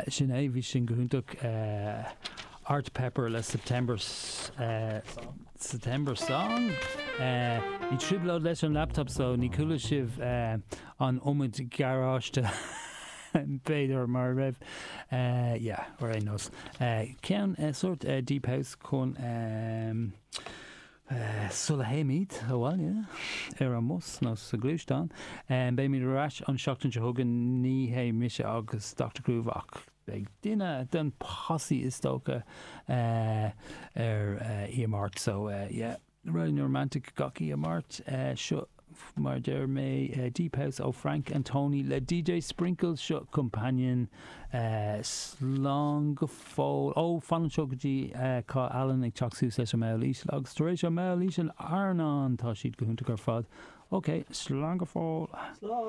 Sin é, bhí sin go hiontach. Art Pepper le September September Song. Bhí trioblóid leis an laptop so ní chuala sibh an iomad garáiste b'fhéidir mar a raibh. Yeah, ar aon nós. Ceann sórt deep house chun Sula théimid abhaile ar an mbus nó sa ghluaisteán, beimid ar ais an seachtain seo chugainn, ní hé mise agus Dr Groove ach beidh duine den posse is dócha ar oíche Máirt so yeah, Raidió na Romantic gach oíche Máirt. Seo mar a deir mé Deep House ó Frank and Tony le DJ Sprinkles, seo Companion. Slán go fóill. Ó, fan anseo go dtí tá Alan ag teacht suas leis an mball íseal agus tar éis an mball íseal Airneán, tá siad go hiontach ar fad. Ok, slán go fóill. Slán!